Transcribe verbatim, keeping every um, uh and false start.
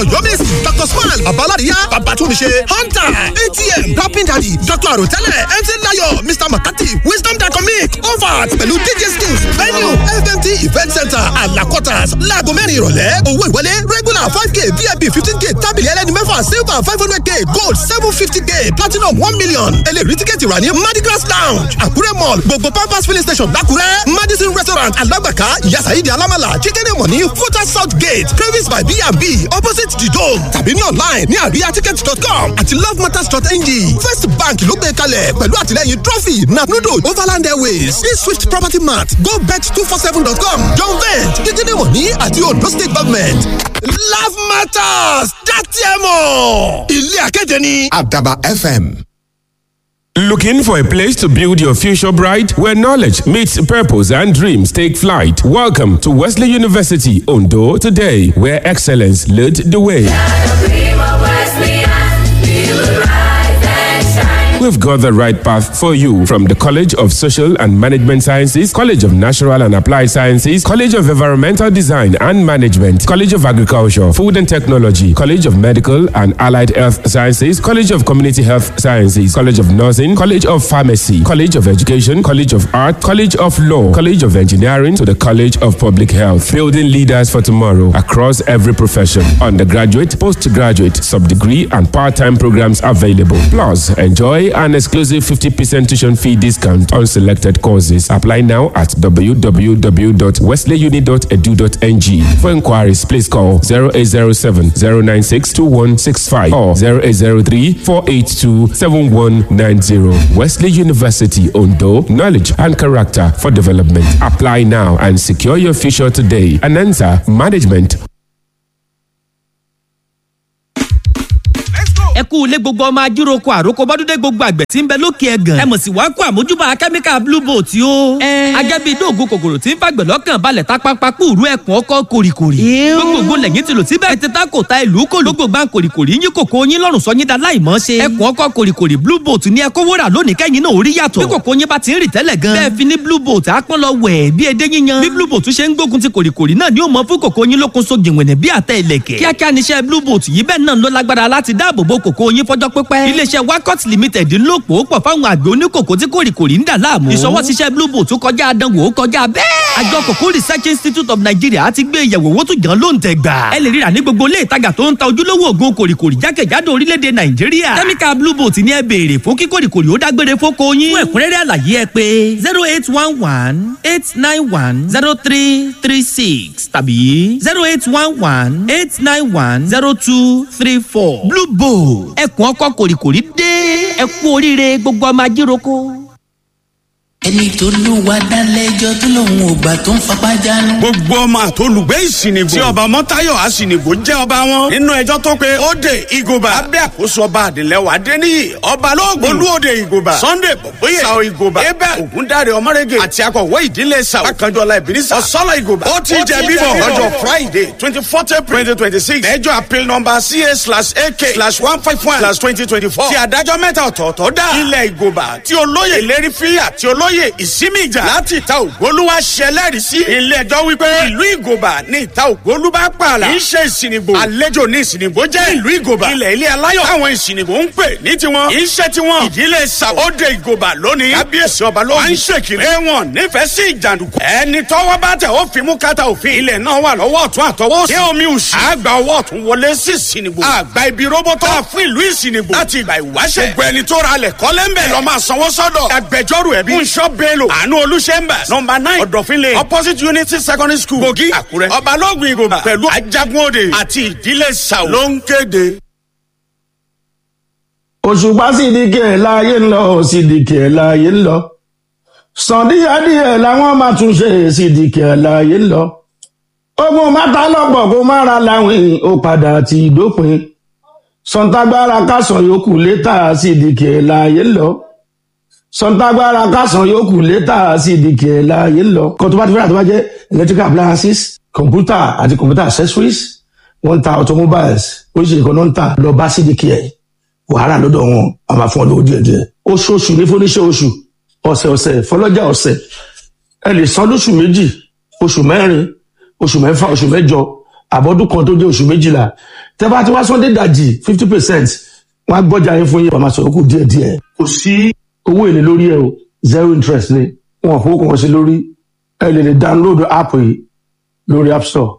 Ọ̀yọ́mèsì, Doctor Smile, Babaládìyá, Babatunmise, Hunter, A T M, Rapping Daddy, Doctor Àròtẹ́lẹ̀, M C Layo, Mister Makati, Wisdom Dacomic, Overt pẹ̀lú D J Skills. Venue: F M T Event Center, Alakotas, láago mẹ́rin ìrọ̀lẹ́. Owó ìwọlé: regular five k, V I P fifteen k, tábìlì ẹlẹ́ni mẹ́fà silver five hundred k, gold seven fifty k, platinum one million. Ẹ lè rí tíkẹ́ẹ̀tì rà ní Mardigras Lounge, Àkúrẹ́ Mall, gbogbo Pampers Filling Station l'Ákúrẹ́, Madison Restaurant, Alágbàká, Ìyá Saheed Alámàlà, Chicken Money, Futa South Gate, Cravings by B and B, opposite the Dome, tàbí ní online ní àríyáticket dot com àti lovematters dot N G. First Bank ló gbé kalẹ̀ pẹ̀lú àtìlẹ́yìn Trophy, Natnudo, Overland Airways, Swift Property Mart, GoBet two four seven dot com, John Vent, Chicken Money àti Ondo State Government. Love Matters, dátì ẹ̀ mọ̀. Ilé akéde ni. Àdàbà F M. Looking for a place to build your future bright, where knowledge meets purpose and dreams take flight? Welcome to Wesley University Ondo today, where excellence lead the way. We've got the right path for you from the College of Social and Management Sciences, College of Natural and Applied Sciences, College of Environmental Design and Management, College of Agriculture, Food and Technology, College of Medical and Allied Health Sciences, College of Community Health Sciences, College of Nursing, College of Pharmacy, College of Education, College of Art, College of Law, College of Engineering to the College of Public Health. Building leaders for tomorrow across every profession. Undergraduate, postgraduate, sub-degree and part-time programs available. Plus, enjoy an exclusive fifty percent tuition fee discount on selected courses. Apply now at w w w dot wesleyuni dot edu dot n g. For inquiries, please call zero eight zero seven zero nine six two one six five or zero eight zero three four eight two seven one nine zero. Wesley University, Ondo, knowledge and character for development. Apply now and secure your future today. Anansa Management. Ẹ kú ilé, gbogbo ọmọ ajíroko, àròkọ bọ́dúndé, gbogbo àgbẹ̀ tí ń bẹ lókè ẹ̀gàn. Ẹ mọ̀ sí wàá kó àmójúbà kẹ́míkà Blue Boat o. Agẹ́bí dóògùn kòkòrò tí ń fàgbẹ̀ lọ́kàn balẹ̀ tápápá kúrú ẹ̀kún ọkọ̀ kòrìkòrì. Gbogbo lẹ́yìn tí lò síbẹ̀ ẹ ti ta kò ta ìlú kò lógbò gbà kòrìkòrì yín kòkó yín lọ́rùn sọ yín da láì mọ́ ṣe. Ẹ̀kún ọkọ̀ kòrìkòrì Blue Boat ní ẹkọ wúrà lónìí kẹ́yìn náà orí yàtọ̀. Bí kòkó yín bá ti ń rì tẹ́lẹ̀ gan, bẹ́ẹ̀ fi ní Blue Boat àpọ́n lọ wẹ̀ bí edé yíyan. Bí Blue Boat ṣe ń gbógun ti kòrìkòrì náà ni ó mọ fún kòkó yín lókun so jìnwìnì bí àtẹ ìlẹ̀kẹ̀. Kíákíá níṣẹ́ Blue Boat yìí, bẹ́ẹ̀ náà ló lágbára láti dáàbò bo kòkó yín fọjọ́ pípẹ́. Iléeṣẹ́ Wakot Limited ń lò pò pọ̀ fáwọn àgbẹ̀ oníkòkó tí kòrìkòrì ń dà láàmú. Ìṣọwọ́ ṣiṣẹ́ Blue Boat kọjá àdánwò, kọjá bẹ́ẹ̀. Àjọ Kòkó Research Institute of Nigeria ti gbé ìyẹ̀wò owó tó jàn ló ń tẹ̀ gbà. Ẹ lè ríra ní gbogbo ilé ìtajà tó ń ta ojúlówó òògùn kòrìkòrì jákèjádò orílẹ̀-èdè Nàìjíríà. Kẹ́míkà Blue Boat ní ẹ béèrè fún kí kòrìkòrì ó dágbére fóko yín. Fún ẹ̀kúnrẹ́rẹ́ àlàyé, ẹ pé zero eight one one eight nine one zero three three six tàbí zero eight one one eight nine one zero two three four. Blue Boat, ẹkùn ọkọ kòrìkòrì dé, ẹ kú oríire, gbogbo ọmọ ajíroko. Ẹni tó lù wá dálẹ́jọ́ tó lòun ò gbà tó ń fapá jánu. Gbogbo ọmọ àtolùgbé Ìsìnìbò tí ọba Mọ́táyọ̀ Àsìnìbò jẹ́ ọba wọn nínú ẹjọ́ tó pé Óde Ìgòbà lábẹ́ àkóso ọba Àdìlẹ́wà Adéníyì, ọba lóògùn Olúòde Ìgòbà, Sunday Bọ̀bóyè Sao Ìgòbà, Abel Ògúndáre Ọmọrege àti akọ̀wé ìdílé Sao Akànjọ́lá Ìbínísà Ọ̀sọ́lọ̀ Ìgòbà, ó ti jẹ bíbọ̀ lọ́jọ́ Friday, twenty fourth April twenty twenty six, ẹjọ́ appeal number C A slash A K slash one five one slash twenty twenty four tí adájọ́ mẹ́ta ọ̀tọ̀ọ̀tọ̀ dá ilẹ̀ Ìgòbà tí olóyè Ìlérí Fíyà tí olóyè Ìsímì Ìjà láti ìta Ògbólúwà ṣẹlẹ́rìí sí. Ilé ẹjọ́ wípé ìlú Ìgòbà ní ìta Ògbólú bá pààlà, kì í ṣe Ìsìnìgbò. Àlejò ní Ìsìnìgbò jẹ́ ìlú Ìgòbà. Ilẹ̀ ilé aláyọ̀ táwọn Ìsìnìgbò ń pè ní tiwọn kì í ṣe tiwọn. Ìdílé Sàwọ́dẹ Ìgòbà lónìí, kábíyèsí ọba lóhùn à ń ṣèkìrì ẹ̀wọ̀n nífẹ̀ẹ́ sí ìjàndùkú. Ẹni tọ́wọ́ bá tẹ̀ ó fi mú kátà òfin. Ilẹ̀ náà wà lọ́wọ́ ọ̀tún àtọwọ́ òsì. Ní omi òsì àgbà ọwọ́ ọ̀tún wọlé sí Ìsìnìgbò, àgbà ibi róbótọ́ fún ìlú Ìsìnìgbò láti ìgbà ìwáṣẹ̀. Gbogbo ẹni tó ra alẹ̀ kọ́lé ń bẹ̀ lọ́ máa sanwó sọ́dọ̀ agbẹjọ́rò ẹbí Fúnṣọ́ Bello Àánú Olùṣẹ́mbà, number nine Ọ̀dọ̀fin Lane, opposite Unity Secondary School, Kogi, Àkúrẹ́. Ọbalógun Ìgòbà pẹ̀lú Ajagun Òde àti ìdílé Sàwọ́ ló ń kéde. Òṣùpá Sídìkì ẹ̀ láàyè ń lọ, Sídìkì ẹ̀ láàyè ń lọ. Sàn díẹ̀díẹ̀ làwọn máa tún ṣe, Sídìkì ẹ̀ láàyè ń lọ. Ogun mátà lọ́pọ̀ kó má ra láwìn, ó padà ti dópin. Sọ̀ǹtàgbára kásán yòókù létà, Sídìkì ẹ̀ láàyè ń lọ. Sọ̀ǹtàgbára kásán yòókù létà, Sídìkì ẹ̀ láàyè ń lọ. Kan tó bá ti fẹ́ràn tó bá jẹ́ electrical appliances, computer àti computer accessories, wọ́n ń ta automobiles, oríṣiríṣi kan náà ń tà. Lọ bá Sídìkì ẹ̀, wàhálà lọ́dọ̀ wọn a máa fún ọ lówó díẹ̀ díẹ̀. Oṣooṣù ní fúnníṣẹ́ oṣù, ọ̀sẹ̀ ọ̀sẹ̀ fọlọ́jà ọ̀sẹ̀. Ẹ lè san lóṣù méjì, oṣù mẹ́rin, oṣù mẹ́fà, oṣù mẹ́jọ, àbọ̀dún kan tó jẹ́ oṣù méjìlá. Tẹ́ bá ti wá sọ́ndé dàjì fifty percent, wọ́n á gbọ́jà yín fún yín, wọ́n máa sọ̀rọ̀ kù díẹ̀ díẹ̀. Kò sí owó èlé lórí ẹ o, zero interest ni. Wọn ò fowó kan sí lórí. Ẹ lè lè download app yìí lórí App Store.